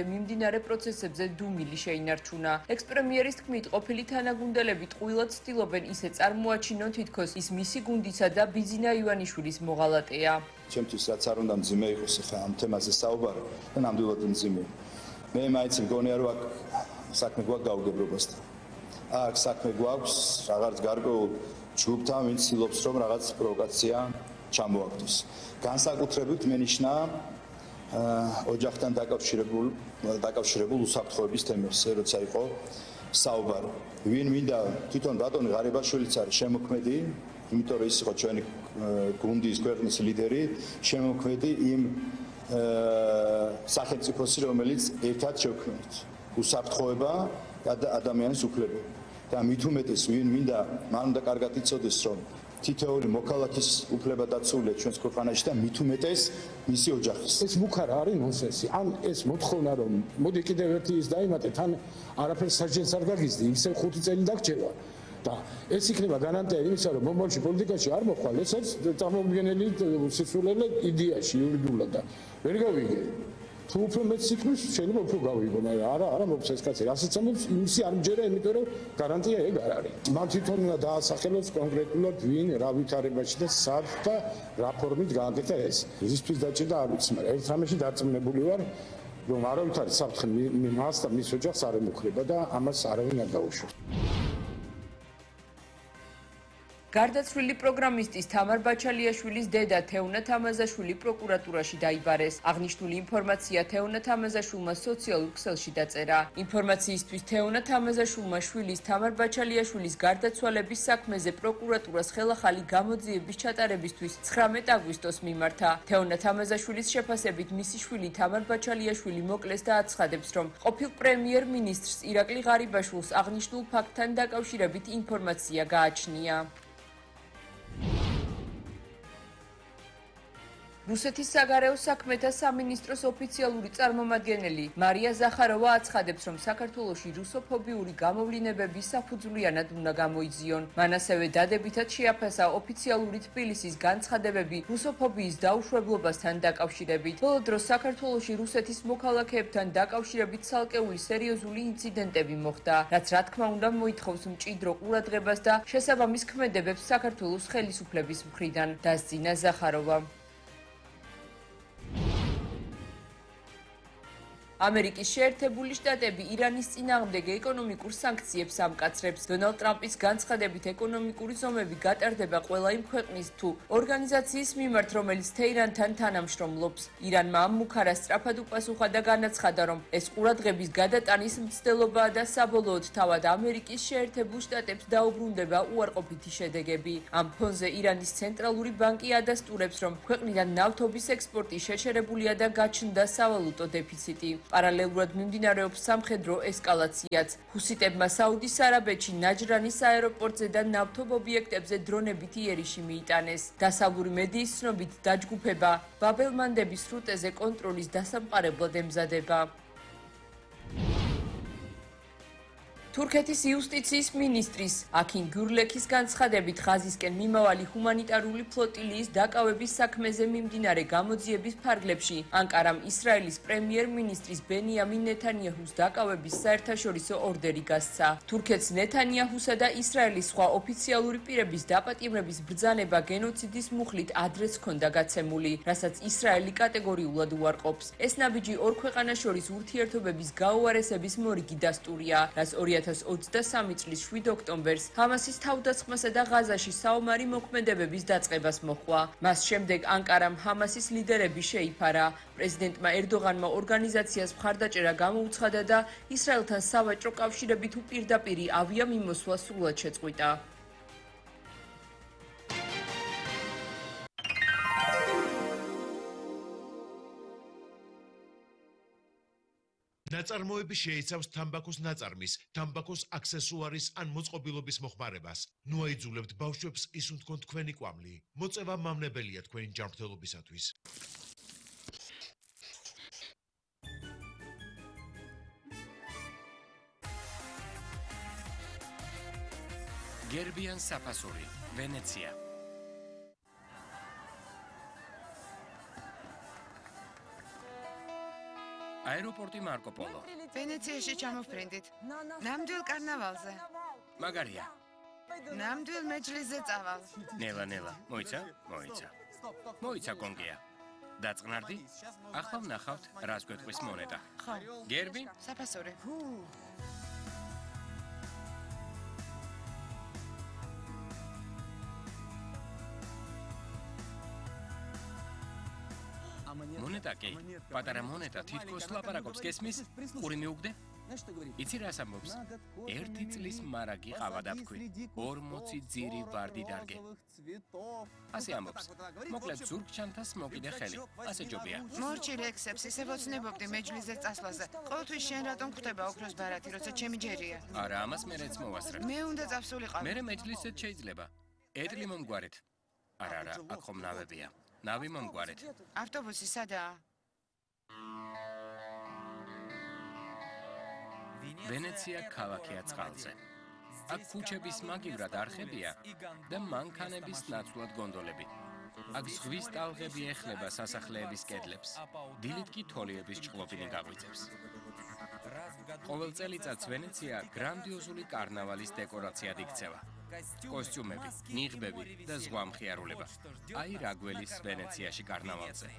მიმდინარე პროცესებზე დუმილი შეინარჩუნა. ექს-პრემიერის თქმით, ყოფილი თანაგუნდელები ტყუილად ცდილობენ ისე წარმოაჩინონ, თითქოს ის მისი გუნდისა და ბიძინა ივანიშვილის მოღალატეა. ჩემთვის რაც არ უნდა მძიმე იყოს ახლა ამ თემაზე საუბარი და ნამდვილად მძიმე. მე მაინც მგონია რომ აქ საქმე გვაქვს გაუგებრობასთან. აქ საქმე გვაქვს რაღაც გარკვეულ ჯგუფთან, ვინც ცდილობს რომ რაღაც პროვოკაცია ჩამოაგდოს. განსაკუთრებით მენიშნა ოჯახთან დაკავშირებულ უსაფრთხოების თემებზე, როცა იყო საუბარი. ვინ მინდა თვითონ ბატონი ღარიბაშვილიც არის შემოქმედი, იმიტომ რომ ის იყო ჩვენი გუნდის ქვეყნის ლიდერი, შემოქმედი იმ სახელმწიფოსი, რომელიც ერთად შევქმნით. უსაფრთხოება და ადამიანის უფლებები. და მით უმეტეს ვინ მინდა მან უნდა კარგად იცოდეს, რომ თითოეული მოქალაქის უფლება დაცულია ჩვენს ქვეყანაში და მით უმეტეს მისი ოჯახის. ეს მუქარა არის ნონსენსი. ან ეს მოთხოვნა რომ მოდი კიდევ ერთი ის დაიმატეთ, ან არაფერს საჯელს არ გაგიზდი, ისევ 5 წელი დაგჭირვა. და ეს იქნება გარანტია იმისა, რომ მომავალში პოლიტიკაში არ მოხვალ, ეს არის წარმოუდგენელი სისულელე იდეაში იურიდიულად და ვერ გავიგე. თუ უფრო მეც სიტყვის შეიძლება უფრო გავიგო, მაგრამ არა მოხდეს ეს კაცი. რასაც ამბობს, იმისი არ მჯერა, იმიტომ რომ გარანტია ეგ არ არის. მან თვითონ უნდა დაასახელოს კონკრეტულად ვინ რა ვითარებაში და სად და რა ფორმით გააკეთა ეს. ისთვის დაჭირდა არ ვიცი, მაგრამ ერთ რამეში დარწმუნებული ვარ, რომ არავითარი საფრთხე მას და მის ოჯახს არ ემუქრება და ამას არავინ არ დაუშვებს. გარდაცვლილი პროგრამისტის თამარ ბაჩალიაშვილის დედა თეუნა თამაზაშვილი პროკურატურაში დაიბარეს. აღნიშნული ინფორმაცია თეუნა თამაზაშვილმა სოციალურ ქსელში დაწერა. ინფორმაციისთვის თეუნა თამაზაშვილმა შვილის თამარ ბაჩალიაშვილის გარდაცვალების საქმეზე პროკურატურას ხელახალი გამოძიების ჩატარებისთვის 19 აგვისტოს მიმართა. თეუნა თამაზაშვილის შეფასებით მისი შვილი თამარ ბაჩალიაშვილი მოკლეს და აცხადებს, რომ ყოფილ პრემიერ-მინისტრს ირაკლი ღარიბაშვილს აღნიშნულ ფაქტთან დაკავშირებით ინფორმაცია გააჩნია. რუსეთის საგარეო საქმეთა სამინისტროს ოფიციალური წარმომადგენელი მარია ზახაროვა აცხადებს, რომ საქართველოში რუსოფობიური გამოვლინებები საფუძვლიანად უნდა გამოიძიონ. მან ასევე დადებითად შეაფასა ოფიციალური თბილისის განცხადებები რუსოფობიის დაუშვებლობასთან დაკავშირებით. ბოლო დროს საქართველოში რუსეთის მოქალაქეებთან დაკავშირებით ცალკეული სერიოზული ინციდენტები მოხდა, რაც რა თქმა უნდა მოითხოვს მჭიდრო ყურადღებას და შესაბამის ქმედებებს საქართველოს ხელისუფლების მხრიდან, დასძინა ზახაროვა. ამერიკის შეერთებული შტატები ირანის წინააღმდეგ ეკონომიკურ სანქციებს ამკაცრებს. დონალდ ტრამპის განცხადებით ეკონომიკური ზომები გატარდება ყველა იმ ქვეყნის თუ ორგანიზაციის მიმართ, რომელიც თეირანთან თანამშრომლობს. ირანმა ამ მუქარას სწრაფად უპასუხა და განაცხადა, რომ ეს ყურადღების გადატანის მცდელობაა და საბოლოოდ თავად ამერიკის შეერთებულ შტატებს დაუბრუნდება უარყოფითი შედეგები. ამ ფონზე ირანის ცენტრალური ბანკი ადასტურებს, რომ ქვეყნიდან ნავთობის ექსპორტი შეჩერებულია და გაჩნდა სავალუტო დეფიციტი. პარალელურად მიმდინარეობს სამხედრო ესკალაციაც. ჰუსიტებმა საუდის არაბეთში ნაჯრანის აეროპორტზე და ნავთობ ობიექტებზე დრონებით იერიში მიიტანეს. დასავლური მედიის ცნობით დაჯგუფება ბაბელმანდების სრუტეზე კონტროლის დასამყარებლად ემზადება. თურქეთის იუსტიციის მინისტრის აქინ გურლექის განცხადებით ღაზისკენ მიმავალი ჰუმანიტარული ფლოტილიის დაკავების საქმეზე მიმდინარე გამოძიების ფარგლებში ანკარამ ისრაელის პრემიერ-მინისტრის ბენიამინ ნეთანიაჰუს დაკავების საერთაშორისო ორდერი გასცა. თურქეთს ნეთანიაჰუსა და ისრაელის სხვა ოფიციალური პირების დაპატიმრების ბრძანება გენოციდის მუხლით ადრეც ჰქონდა გაცემული, რასაც ისრაელი კატეგორიულად უარყოფს. ეს ნაბიჯი ორ ქვეყანას შორის ურთიერთობების გაუარესების მორიგი დასტურია, რაც 2023 წლის 7 ოქტომბერს ჰამასის თავდასხმასა და ღაზაში საომარი მოქმედებების დაწყებას მოჰყვა. მას შემდეგ ანკარამ ჰამასის ლიდერები შეიფარა. პრეზიდენტმა ერდოღანმა ორგანიზაციას მხარდაჭერა გამოუცხადა და ისრაელთან სავაჭრო კავშირები თუ პირდაპირი ავიამიმოსვლა სრულად შეწყვიტა. ნაწარმოები შეიცავს თამბაქოს ნაწარმის, თამბაქოს აქსესუარის ან მოწყობილობის მოხმარებას. ნუ აიძულებთ ბავშვებს ისუნთქონ თქვენი კვამლი. მოწევა მამნებელია თქვენი ჯანმრთელობისათვის. გერბიან საფასური, ვენეცია. აეროპორტი მარკო პოლო. ვენეციაში ჩამოვფრინდით. ნამდვილ კარნავალზე. მაგარია. ნამდვილ მეჯლისზე წავალ. ნელა, მოიცა კონგია. დაწყნარდი? ახლა ვნახავთ, რას გვეტყვის მონეტა. ხო. გერბი? საფასური. მონეტა კი, პატარა მონეტა თითქოს ლაპარაკობს, გესმის? ყური მიუგდე? იცი რას ამბობს? 1 წლის მარაგი ყავა დაფქვი, 40 ძირი ვარდი დარგე. ასე ამბობს. მოკლედ ზურგჩანთას მოკიდე ხელი. ასე ჯობია. მორჩი რექსებს ისე ვოცნებობდი მეჯლისზე წასვლაზე. ყოველთვის შენ რატომ ხვდება ოქროს ბარათი, როცა ჩემი ჯერია? არა, ამას მერეც მოვასწრე. მე უნდა წავსულიყავ. მერე მეჯლისზეც შეიძლება. ედლი მომგვარეთ. არა, აქ ხომ ნავებია. ნავი მომგვარეთ. ავტობუსი სადაა? ვენეცია ქალაქია წყალზე. აქ ქუჩების მაგივრად არხებია და მანქანების ნაცვლად გონდოლები. აქ ზღვის ტალღები ეხლება სასახლეების კედლებს. დილით კი თოლიების ჭყლობინი გაგვიწევს. ყოველ წელიწადს ვენეცია გრანდიოზული კარნავალის დეკორაციად იქცევა. კოსტიუმები, ნიღბები და ზღვა მხიარულება. აი რა გველის ვენეციაში კარნავალზე.